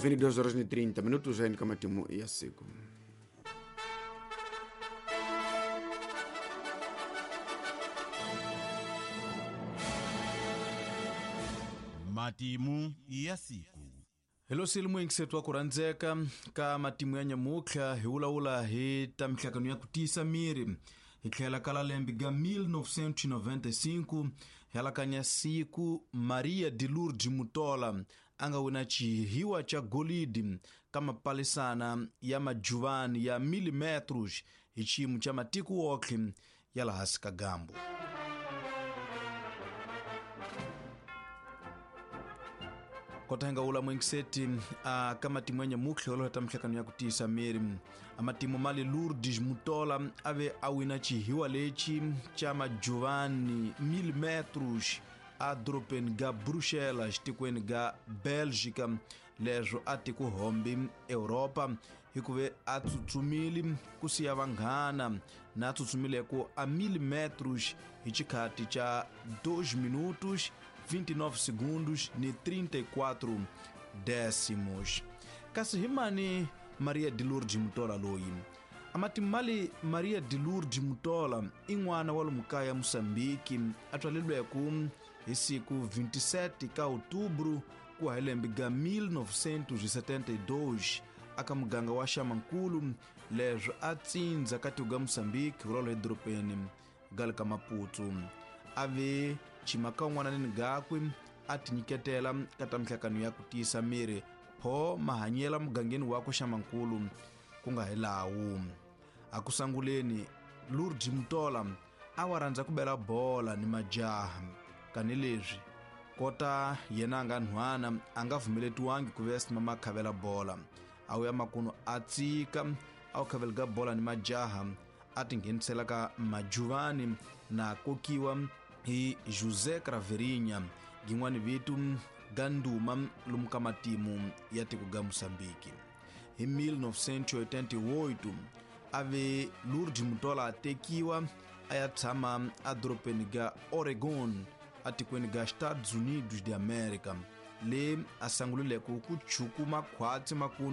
22 horas ni 30 minutos aini ka matimu ya siku. Matimu ya siku. Hello silimu ingisetwa ku rhandzeka ka matimu ya nyamutlha hi vulavula hi ta mihlangano ya ku tiyisa miri hi tlhela ka lembe ga 1995 hi alakanya siku Maria de Lourdes Mutola a nga wina xihiwa xa golidi ka mapalisana ya majuvani ya milimetros hi xiyimo xa matiko wotlhe ya laha hansi ka gambu. Kota hi nga wula muingiseti a ka matimu ya nyamutlha yo ta mihlangano ya ku tiyisa miri a matimu ma le Lourdes Mutola a ve a wina xihiwa lexi xa majuvani milimetros a dorobeni ga Bruxelas tikweni ga Belgica leswo a tiko hombi Europa hikuve a tsutsumile ku siya vanghana na tsutsumileko a milimetros hi xikhati xa 2 minutos 29 segundos ni 34 décimos. Kasi hi mani Maria de Lourdes Mutola loyi? Amatimali Maria de Lourdes Mutola i n'wana wa lomu kaya Moçambique a tswaleriweke hi siku 27 ka Outubro ku hi lembe ga 1972 aka muganga wa Xamankulu leswo a tsindza ka tiko ga Moçambique rolo edorobeni ga le ka Maputo. A ve chimaka un'wana gakwe a tinyiketela ka ta mihlangano ya ku tiyisa miri pho mahanyela mugangeni wakwe Xamankulu ku nga hi lawu. A ku sanguleni Lourdes Mutola a wa rhandza ku bela bola ni majaha kanileswi kota yena a nga nhwana a nga pfumeletiwangi ku ve simama khavela bola a wu ya makunu a tsika a wu khaveleka bola ni majaha a tinghenisela ka majuvani na kokiwa hi José Craverinha gin'wani vito ga nduma lomu ka matimu ya tiko ga Moçambique. Hi 1988 a ve Lourdes Mutola a tekiwa a ya tshama edorobeni ga Oregon atikweni ga Estados Unidos de América le a sangulileke ku chukuma khwatsi makunu.